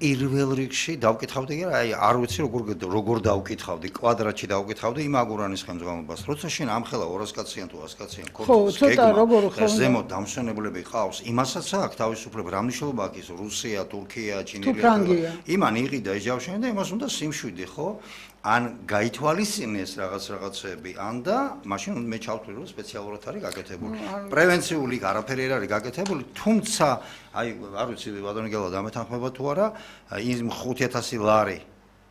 პირველ რიგში დავკითხავდი კი აი არ ვიცი როგორ დავკითხავდი კვადრატში დავკითხავდი იმ აგურანის ხელმძღვანელობას როცა შენ ამხელა 200 კაციან თუ 100 კაციან ხო ცოტა როგორ ხო ზემოთ დამსვენებლები ყავს იმასაც აქვს თავისუფლება რა მნიშვნელობა აქვს რუსია თურქია ჩინელი იმან იყიდა ეჯავშენი და იმას უნდა სიმშვიდე ხო ან გაითვალისწინეს რაღაცები ან და მაშინ მე ჩავთვლი რომ სპეციალურად არის გაკეთებული პრევენციული არაფერი არ არის გაკეთებული თუმცა აი არ ვიცი ბატონი გელა დამეთანხმება თუ არა იმ 5000 ლარი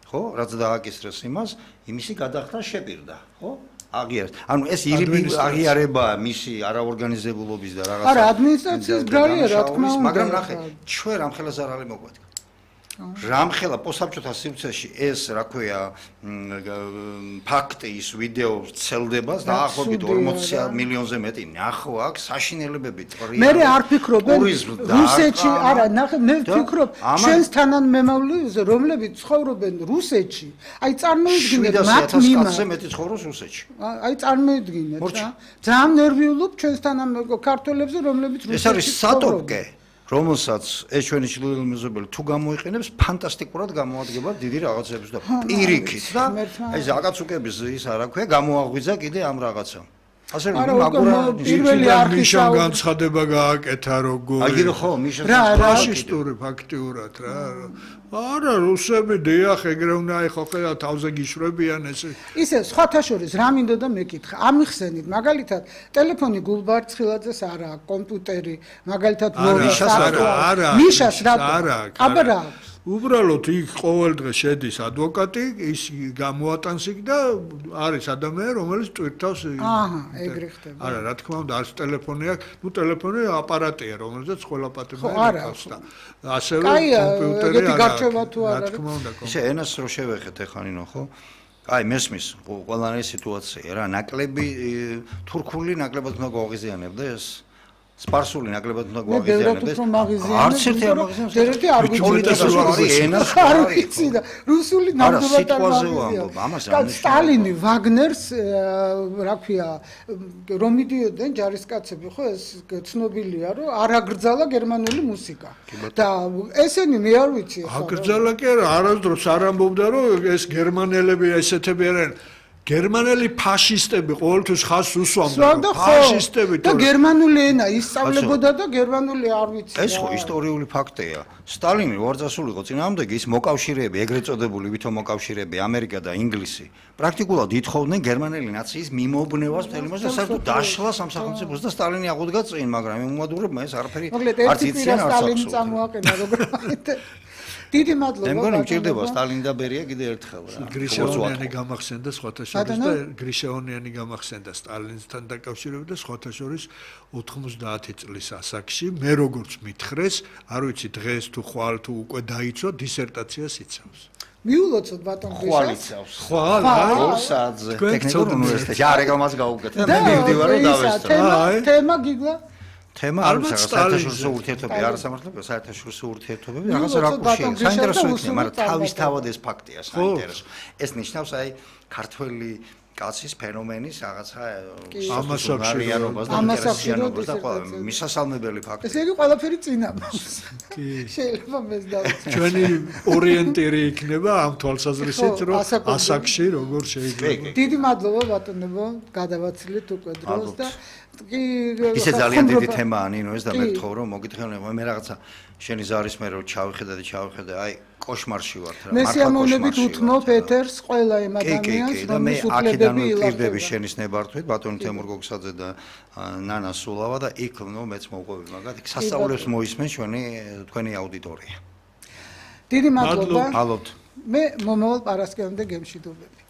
ხო რაც დააკისრეს იმას იმისი გადახდა შეპირდა ხო აღიარეთ ანუ ეს აღიარება მისი არაორგანიზებულობის და რაღაცა არა ადმინისტრაციის ბრალია რა თქმა უნდა მაგრამ ნახე ჩვენ რამხელა ზარალი მოგვადგა რამხელა პოსტსაბჭოთა სივრცეში ეს რა ქვია ფაქტი ის ვიდეო ვრცელდება დაახლოებით 40 მილიონზე მეტი ნახო აქვს საშინელებები წრია მე არ ფიქრობენ რუსეთში არა ნახე მე ვფიქრობ ჩვენს თანამემამულეებზე რომლებიც ცხოვრობენ რუსეთში აი წარმოიდგინეთ მათ მიმართ მეტი ცხოვრობს რუსეთში აი წარმოიდგინეთ რა ძალიან ნერვიულობ ჩვენს თანამემამულეებზე ქართველებზე რომლებიც რუსეთში ეს არის სატოპკე რომელსაც ეს ჩვენი ჩრდილოეთი მეზობელი თუ გამოიყენებს ფანტასტიკურად გამოადგება დიდი რაღაცებს და პირიქით და აი ზაკაცუკების ის არა ქვია გამოაღვიძა კიდე ამ რაღაცამ ასე რომ აგურა პირველი არქიშა განცხადება გააკეთა როგორ აი ხო მიშა ფაშისტური ფაქტიურად რა არა რუსები დიახ ეგრე უნდა იყო ხა თავზე გიშვებიან ეს ისე სხვათა შორის რა მინდო და მეკითხა ამიხსენით მაგალითად ტელეფონი გულბარცხილაძეს არა კომპიუტერი მაგალითად მიშას რა აბა უბრალოდ იქ ყოველ დღე შედის ადვოკატი ის გამოატანს იქ და არის ადამიანი რომელიც ტვირთავს ეგრე ხდება არა რა თქმა უნდა არის ტელეფონი აქვს ნუ ტელეფონი აპარატია რომელზეც ყველა პატრონი აქვს და ასევე კომპიუტერი არა რა თქმა უნდა ისე ენას რო შევეხეთ ეხლა ნინო ხო აი მესმის ყველანაირი სიტუაცია რა ნაკლები თურქული ნაკლებად უნდა გვაღიზიანებდა ეს სპარსული ნაკლებად უნდა გვაღიზიანებდეს არც ერთი არ მაგაზიანებს ერთი არ ვიცი და რუსული ნამდვილად არ მაგაზიანებს სტალინი ვაგნერს რა ქვია რომ მიდიოდნენ ჯარისკაცები ხო ეს ცნობილია რომ არ აგრძალა გერმანული მუსიკა და ესენი მე არ ვიცი აგრძალა კი არა არასდროს არ ამბობდა რომ ეს გერმანელები ესეთები არიან გერმანელი ფაშისტები ყოველთვის ხაზს უსვამდა ფაშისტები და გერმანული ენა ისწავლებოდა და გერმანული არ ვიცი ეს ხო ისტორიული ფაქტია სტალინი ვარძასული იყო წინააღმდეგი ის მოკავშირეები ეგრეთ წოდებული ვითომ მოკავშირეები ამერიკა და ინგლისი პრაქტიკულად ითხოვდნენ გერმანელი ნაციის მიმობნევას მთელი მას და საერთოდ დაშლა სამსახელმწიფოს და სტალინი აღუდგა წინ მაგრამ იმ უმადურებმა ეს არაფერი არც იციან არც სტალინი წამოაყენა როგორ დიდი მადლობა. მე მგონი მჭირდება სტალინი და ბერია კიდე ერთხელ რა. გრიშეონიანი გამახსენდა სხვათა შორის და გრიშეონიანი გამახსენდა სტალინთან დაკავშირებით და სხვათა შორის 90 წლის ასაკში მე როგორც მითხრეს, არ ვიცი დღეს თუ ხვალ თუ უკვე დაიცვა დისერტაციას იცავს. მიულოცოთ ბატონ გრიშას. ხვალ იცავს. ხვალ 2 საათზე ტექნიკურ უნივერსიტეტში. არა რეკლამას გავუკეთე და მე მივდივარ და დავესწრო. თემა გიგლა თემა არ ვიცი საერთაშორისო ურთიერთობები არა სამართლებრივი საერთაშორისო ურთიერთობები რაღაც რაკურსია საინტერესო იქნება მაგრამ თავისთავად ეს ფაქტია საინტერესო ეს ნიშნავს აი ქართველი კაცის ფენომენის რაღაცა ამასაკშირიანობას და ინტერესიანობას და ყველა მისასალმებელი ფაქტია ეს იგი ყველაფერი წინამას კი შეიძლება მეს დავიცი ჩვენი ორიენტირი იქნება ამ თვალსაზრისით რომ ასაკში როგორ შეიძლება დიდი მადლობა ბატონებო გადავაცილეთ უკვე დროს და ისე ძალიან დიდი თემაა ნინო ეს და მე გთხოვ რომ მოგითხენ მე რაღაცა შენი ზარის მე რომ ჩავიხედე აი კოშმარში ვარ რა მე სიამოვნებით უთმობ ეთერს ყველა იმ ადამიანს რომლის უფლებები ილაპდება შენის ნებართვით ბატონი თემურ გოგსაძე და ნანა სულავა და იქ ნო მეც მოვყვები მაგათ იქ სასწაულებს მოისმენ თქვენი აუდიტორია დიდი მადლობა მადლობთ მე მომავალ პარასკევამდე გემშვიდობები